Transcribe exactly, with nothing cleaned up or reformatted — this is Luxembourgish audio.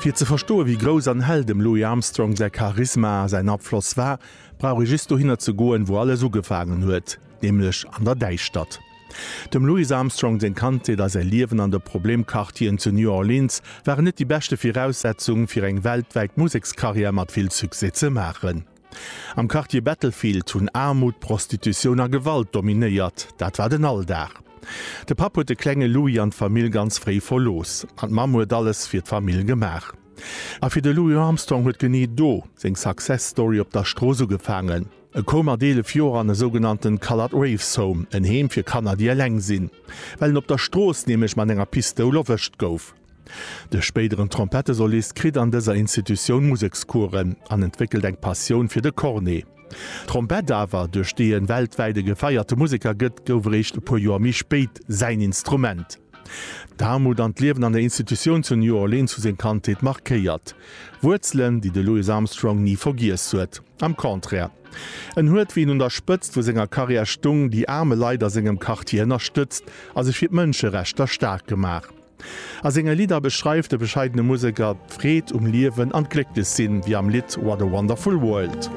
Fir ze verstoen, wéi grouss an hell dem Louis Armstrong säi Charisma a säin Afloss war, brauch ee just dohinner ze goen, wou alles ugefaangen huet, nämlech an der Däischtert. Dem Louis Armstrong seng Kandheet a säi Liewen an de Problemquartieren zu New Orleans waren net déi beschte Viraussetzung, fir eng weltwäit Musekskarriär mat vill Succès ze maachen. Am Quartier Battlefield hunn Aarmut, Prostitutioun a Gewalt dominéiert, dat war den Alldag. De Papp huet de klenge Louis an d'Famill ganz fréi verlooss, an d'Mamm huet alles fir d'Famill gemaach. A fir de Louis Armstrong huet genee do seng Success Story op der Strooss ugefaangen. E koum mat eelef Joer an e sougenannten Colored Waifs Home, en Heem fir Kanner déi eleng sinn, well en op der Strooss nämlech mat enger Pistoul erwëscht gouf. De spéideren Trompettesolist kritt an dëser Institutioun Musekscoursen an entwéckelt eng Passioun fir de Cornet. D'Trompett awer, duerch déi en weltwäit e gefeierte Museker gëtt, gouf eréischt e puer Joer méi spéit säin Instrument. D'Aarmut an d'Liewen an der Institutioun zu New Orleans hu seng Kandheet markéiert. Wuerzelen, déi de Louis Armstrong ni vergiess huet. Am Contraire. En huet, wéi en un der Spëtzt vu senger Karriär stung, déi aarme Leit a sengem Quartier ënnerstëtzt a sech fir d'Mënscherechter staark gemaach. A senge Lidder beschreift de bescheidene Museker d'Freed um Liewen an d'Glécklechsinn, wéi am Lidd What a Wonderful World.